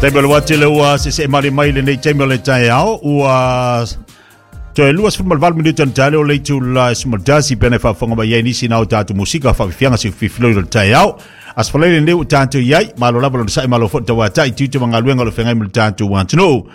Taimi o le wati le ua se mali mai lenei taimi o le taeao ua toe 28 minute na taele o le itula e 11 pena e faafofoga mai ai nisi na o tatou musika faafifiaga si fifiloi o le taeao. Aso Faraile lenei ua tatou i ai, malo lava lona sa'i malo foi le tauatai tiute ma galuega o le feagai ma le tatou atunuu.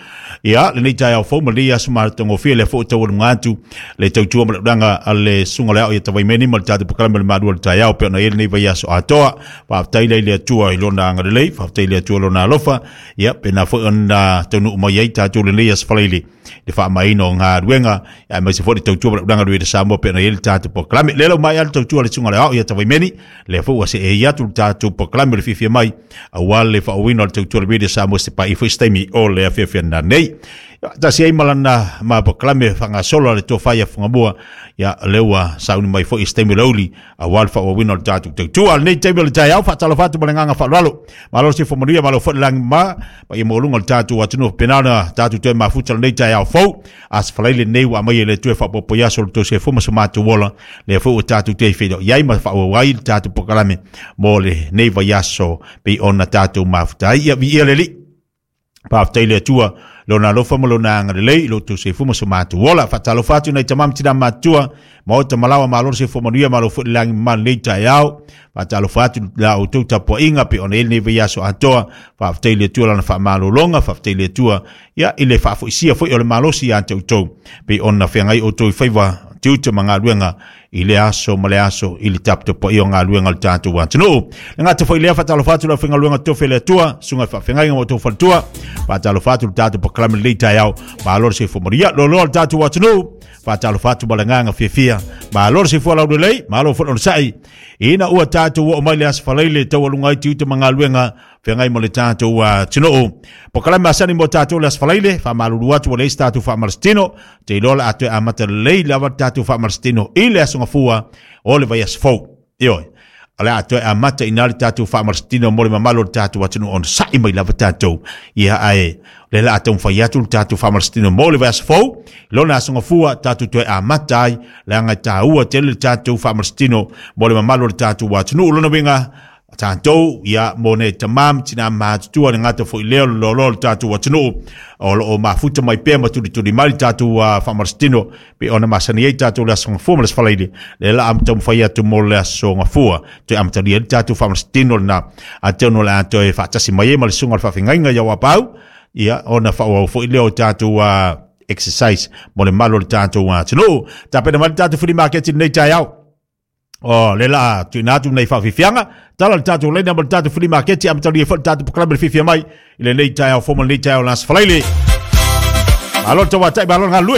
Ia, lenei taeao fou ma lenei aso matagofie lea foi ua taualuga atu le tautua ma le ulaga a le susuga o le ao ia Tavaimeni ma le tatou polokalame o le Malu o le Taeao pei ona i ai lenei vaiaso atoa. Faafetai lea i le Atua i lona agalelei, faafetai i le Atua i lona alofa, ia pena foi ona taunuu mai ai tatou lenei aso Faraile le faamaina o galuega aemaise foi le tautua ma le ulaga i le Samoa pei ona i ai le tatou polokalame. Lea lau mai le tautua le susuga o le ao ia Tavaimeni, lea foi ua see atu le tatou polokalame o le fiafia mai aua le faaauauina o le tautua le Radio Samoa se pai foi se taimi o le afiafi nei. Tasi ai ma lana ma polokalame faagasolo a le tofa ia Fugamua, ia lea ua sauni mai foi se taimi o le aoauli aua le faaauauina o le tatou tautua. Lenei taimi o le taeao, faatalofa atu ma le agaga faaaloalo. Malo se manuia, malo foi le lagi ma paia maualuga o le tatou atunuu faapena ona tatou toe mafuta lenei taeao fou. Aso Faraile lenei ua aumai e le Atua e faaopoopo i aso o le tou soifua ma so matou ola. Lea foi ua tatou toe feiloai ai ma faaauau ai le tatou polokalame mo lenei vaiaso pei ona tatou mafuta ai. Ia viia le Alii. Faafetai le Atua, lona alofa ma lona agalelei i lo outou soifua ma so matou ola. Faatalofa atu nai tama ma tina matutua, maota malawa malo le soifua manuia, malo foi le lagi mamalu lenei taeao. Faatalofa atu la outou tapuaiga pei ona i ai lenei vaiaso atoa. Faafetai le Atua lana faamalologa, faafetai le Atua ia i le faafoisia foi o le malosi ia te outou pei ona feagai outou i faiva tiute ma galuega i le aso ma le aso i le taputapuai o galuega o le tatou atunuu. Le gata foi lea, faatalofa atu le aufaigaluega totofi a le Atua, susuga i faafeagaiga ma outou faletua, faatalofa atu le tatou polokalame lenei taeao, malo le soifua manuia, loaloa le tatou atunuu, faatalofa atu ma le agaga fiafia, malo le soifua laulelei, malo foi le onosai, ina ua tatou oo mai le aso Faraile taualuga ai tiute ma galuega feagai ma le tatou atunuu. Polokalame masani mo tatou le aso Faraile, faamalulu atu ua leai se tatou faamalositino, te iloa o le a toe amata lelei lava le tatou faamalositino i le aso Gafua o le vaiaso fou. Ioe, o le a toe amata i ina le tatou faamalositino mo le mamalu o le tatou atunuu ona sa'i mai lava tatou. Ia, ae o lea o le a taumafai atu le tatou faamalositino mo le vaiaso fou, lona aso Gafua tatou toe amata ai, leaga e taua tele le tatou faamalositino mo le mamalu o le tatou atunuu. Lona uiga, tatou, ia, mo nei tama ma tina matutua, le gata foi lea o le loaloa o le tatou atunuu o lo o mafuta mai pea ma tulituli mai le tatou faamalositino pei ona masani ai tatou le aso Gafua ma le aso Faraile. Lea la a taumafai atu mo le aso Gafua toe amatalia ai le tatou faamalositino lena, atonu o le a toe faatasi mai ai ma le susuga o le faafeagaiga ia Auapaau, ia, ona faaauau foi lea o tatou exercise mo le malu o le tatou atunuu. Tapena mai le tatou flea market i lenei taeao. O le la tuuina atu nei faafiafiaga tala le tatou laina ma le tatou flea market amatalia foi le tatou polokalame le fiafia mai i lenei taeao fou ma lenei taeao o le Aso Faraile. Malo le tauatai, malo le galulue.